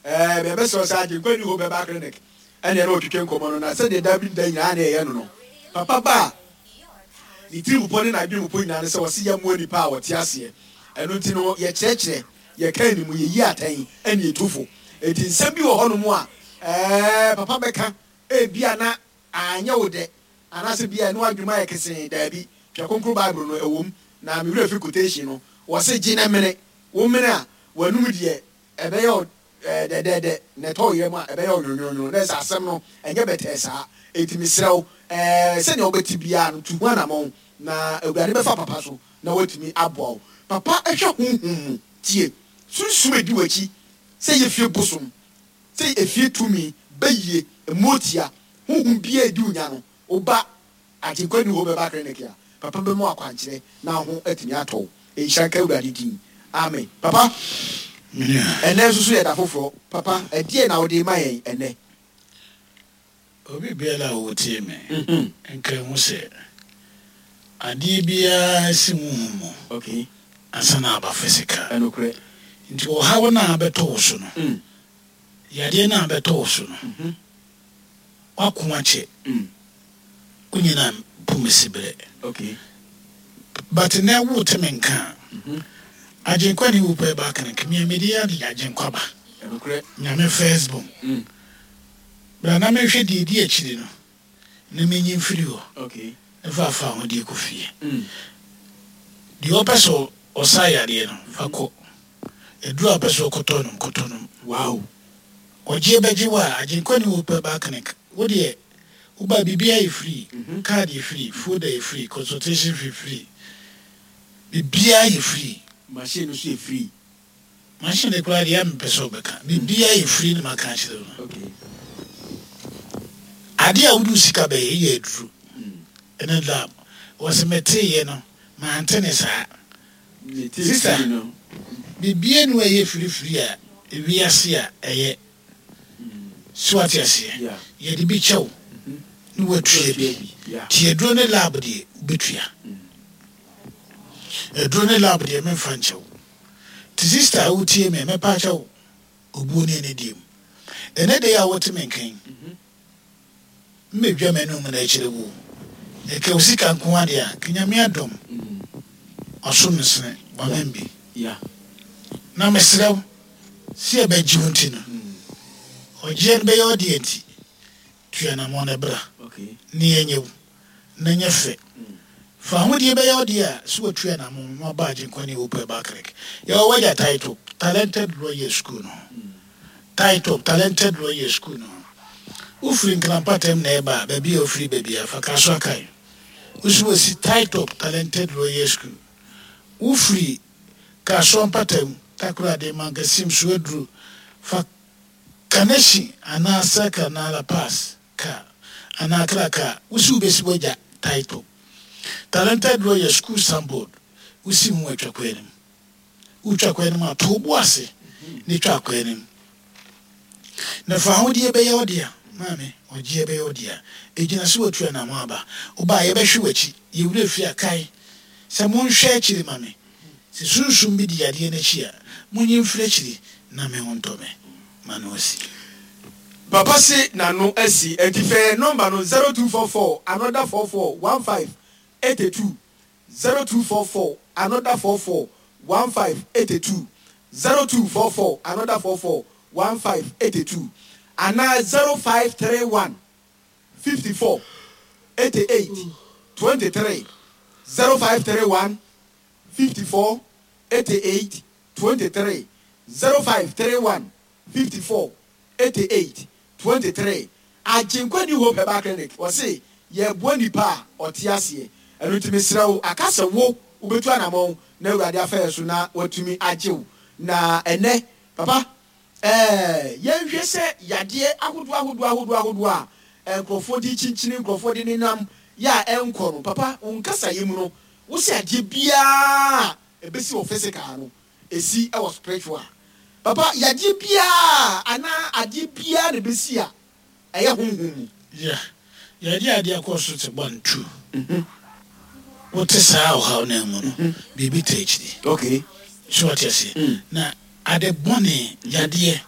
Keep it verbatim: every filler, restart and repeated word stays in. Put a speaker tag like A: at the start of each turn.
A: Ɛɛ bɛbɛsrɛ sɛ Agyenkwa New Hope Herbal Clinic ɛne ɛne ɔtwetwe nkɔmmɔ no, na sɛdeɛ da bi da nyinaa ne ɛyɛ no no papa ba a ne tiri mupɔ ne n'adwene mupɔ nyinaa ne sɛ wɔse yɛmmoa nipa a wɔte aseɛ. Ɛno nti no yɛkyerɛkyerɛ, yɛka animu, yɛyi atɛn ɛne yɛtu. Enti nsɛm bi wɔ hɔnom a ɛɛ papa bɛka ebia na anyɛ wo dɛ anaasɛ bia ɛno adwuma yɛ kesee. Daabi, Twerɛ Kronkron Bible no ɛwom na mewerɛ fi quotation no, wɔse gye ne mene wo mene a w'anum deɛ ɛbɛyɛ wo dɛdɛɛdɛ na ɛtɔ wo yam a ɛbɛyɛ wo nwonwonwono, na ɛsɛ asɛm no ɛnyɛ bɛtɛɛ saa. Enti mesrɛ wo, ɛɛ sɛnea wobɛte biara no, tu ho anammɔn na Awurade bɛfa papa so na watumi aboa wo. Papa hwɛ honhom mu, tie sunsum edi w'akyi, sɛ yɛ fie bosom, sɛ efie tumi bɛyie mmotia honhom biara edi wo nya no, woba Agyenkwa New Hope Herbal Clinic a, papa bɛma akwankyerɛ na ho atumi atɔ wo. Nhyira nka Awurade din. Amen. Papa, ɛnɛ nso so yɛ da foforɔ. Papa, ɛdeɛ na wode ma yɛn ɛnɛ?
B: Obi biara a wɔtie me nka hu sɛ adeɛ biara si honhom mu
A: okay
B: ansa na aba physical.
A: Ɛnokorɛ.
B: Nti ɔhaw no a bɛtɔ wo so no,
A: Mm.
B: yadeɛ no a bɛtɔ wo so no, wako akyɛ, wonyina pomesi berɛ.
A: Okay
B: but nɛ wote me nka a, Agyenkwa New Hope Herbal Clinic, mea mede ade Agyenkwa ba.
A: Ɛnokorɛ.
B: Nyame first born.
A: Mm.
B: Bra na mehwɛ deɛ di akyiri no na menyi mfiri hɔ
A: okay
B: na fa afa ahodeɛ kɔ fie.
A: Mm.
B: Deɛ ɔpɛ sɛ ɔsa yadeɛ no, fa kɔ. Aduru a ɔpɛ sɛ ɔkɔtɔ nom, kɔtɔ nom.
A: Wow
B: ɔgye bɛgye wo a, Agyenkwa New Hope Herbal Clinic, wo deɛ woba, biribiara yɛ free. Card yɛ free, folder yɛ free, consultation fee free, biribiara yɛ free.
A: Machine no so yɛ free.
B: Machine de koraa deɛ mepɛ sɛ wobɛka, biribiara yɛ free ne maka akyerɛ wo no.
A: Okay
B: adeɛ a wode wo sika bɛyɛ yɛ aduru ɛne lab. Wɔsɛ meteeɛ no, mante ne saa.
A: Ne tea.
B: Sister.
A: Free no.
B: Biribiara nu a ɛyɛ firifiri a ewiase a ɛyɛ so, ate aseɛ?
A: Yeah.
B: Yɛde bi kyɛw ne watua bi.
A: Yeah.
B: Nti aduro ne lab deɛ, wobɛtua. Aduro ne lab deɛ, memfa nkyɛw. Nti sister a wotie me, mɛpa kyɛw, obuo ne ɛne deɛ mu ɛnɛ deɛ a wote me nkan, mmɛdwa m'anum na akyerɛ wo ɛka wo sika nko adeɛ a ka Nyame adɔm ɔsom nsene wamem bi.
A: Yeah.
B: Na mesrɛ wo sɛ yɛbɛgye wo nti no, ɔgyeɛ no bɛyɛ ɔdeɛ nti tua nammɔ no bra
A: Okay.
B: ne yɛnyɛ wo na nyɛ fɛ. Fa ahodeɛ bɛyɛ ɔdeɛ a sɛ watua nammɔ na waba Agyenkwa New Hope Herbal Clinic. Yɛwɔ wagya Title Talented Lawyer School no ho, Title Talented Lawyer School no ho. Wofiri Nkrampatam na ɛba a, baabi a wofiri baabi a fa ka so akae wosi wɔsi Title Talented Lawyer School. Wofiri Kasoa mpatam, Takoradi, Mankasim so aduru, fa Kaneshie anaa Circle anaa La Pass car anaa Accra car, wosi wobɛsi wagya Title Talented Lawyer School signboard. Wosi ho atwa kwan anim, wotwa kwan anim a, to wo bo ase ne twa kwan anim na fa ahodeɛ bɛyɛ wo dea. Maame, ɔgyeɛ bɛyɛ wo dea, ɛgyina so watu anamo aba. Wobaa, yɛbɛhwe w'akyi, yɛwura fie a, kae sɛ monhwɛ akyiri ma me. Sɛ sunsum bi di yadeɛ no akyi a, monyi mfiri akyiri na me ho ntɔ me ma no asi.
A: Papa se n'ano asi, nti fɛ number no zero two four four another four four one five eighty two, zero two four four another four four one five eighty two, zero two four four another four four one five eighty two anaa zero five three one fifty four eighty eight twenty three, zero five three one fifty four eighty eight twenty three, zero five three one fifty four eighty eight twenty three. Agyenkwa New Hope Herbal Clinic, wɔse yɛboa nipa a ɔte aseɛ. Ɛno nti mesrɛ wo, aka sɛ wo wobɛtu anammɔn na Awurade afa yɛ so na watumi agye wo. Na ɛnɛ papa, ɛɛ yɛnhwɛ sɛ yadeɛ ahodoɔ ahodoɔ ahodoɔ ahodoɔ a nkurɔfoɔ de kyinkyini, nkurɔfoɔ de nenam yɛ a ɛnkɔ no. Papa, wo nkasayɛ mu no, wo sɛ adeɛ biara ɛbɛsi wɔ physical no, ɛsi ɛwɔ spiritual. Papa, yadeɛ biara anaa adeɛ biara na ɛbɛsi a ɛyɛ honhom mu?
B: Yeah, yɛde adeɛ kɔ so te one two, wote saa ɔhaw no mu no, biribi ta akyiri.
A: Okay
B: so wate aseɛ? Na ade bɔne, yadeɛ.